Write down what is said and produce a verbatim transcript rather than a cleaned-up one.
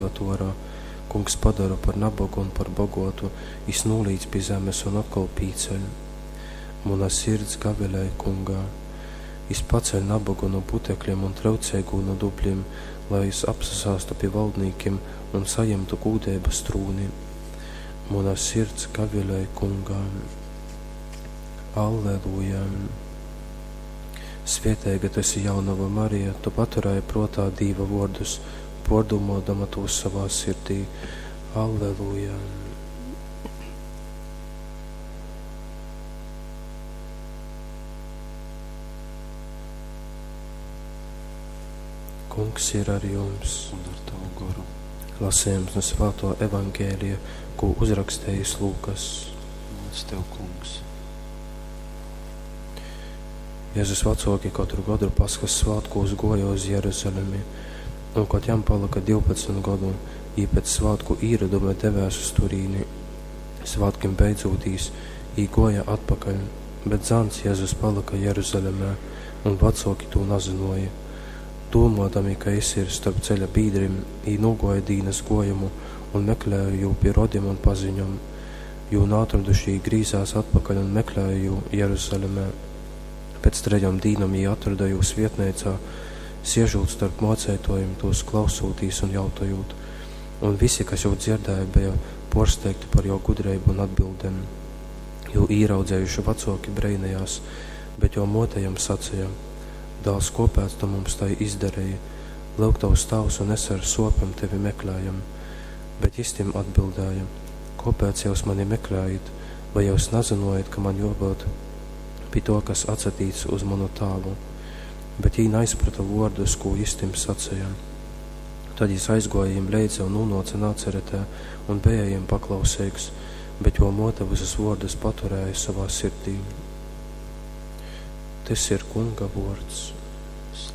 Izvad uorā. Kungs padora par nabogu un par boguotu, jis nūlīc pi zemes un otkol pīceļ. Muna sirds gavilej Kungā. Jis paceļ nabogu nu putekļim un tryuceigū nu dubļim, lai jis apsasāstu pi valdnīkim un sajimtu gūdeibas trūni. Muna sirds gavilej Kungā. Alleluja! Svieteiga tu esi, jaunova Marija, tu paturēji pruotā Dīva vuordus, puordūmuodama tūs sovā sirdī. Alleluja! Kungs ir ar jums. Un ar tavu goru. Lasījums no Svāto Evangēlija, ko uzrakstījis Lūkas. Gods tev, Kungs. Jēzus vacoki katru gadu Paskas svātkūs goja uz Jeruzalemi, un, kad jam palika divpadsmit godu, jī pēc svātku īroduma devēs uz turīni. Svātkim beidzūtīs, jī goja atpakaļ, bet zāns Jēzus palika Jeruzalemē, un vacoki tū nazynoja. Dūmodami, ka jis ir storp ceļa bīdrim, jī nūgoja dīnas gojumu un meklēja jū pi rodim un paziņom. Jū naatroduši, jī grīzās atpakaļ un meklēja jū Jeruzalemē. Pēc trejom dīnom jī atroda jū svietneicā, siežūt starp mōceitōjim, tūs klausūtīs un jautojūt. Un visi, kas jū dzierdēja, beja pōrsteigti par jō gudreibu un atbildem. Jū īraudzējuši vacoki breinējās, bet jō mōte jam saceja: Dāls, kōpēc tu mums tai izdareji? Lyuk, tovs tāvs un es ar sōpem tevi meklējam. Bet jis tim atbildēja: Kōpēc jyus mani meklējit? Vai jyus nazynojit, ka man jōbyut pi tō, kas atsatīc uz manu tāvu? Bet jī naizprota vōrdus, kū jis tim saceja. Tad jis aizgōja jim leidza un nūnōce Nacaretē un beja jim paklauseigs, bet jō mōte vysus vōrdus paturēja sovā sirdī. Tys ir Kunga vōrds.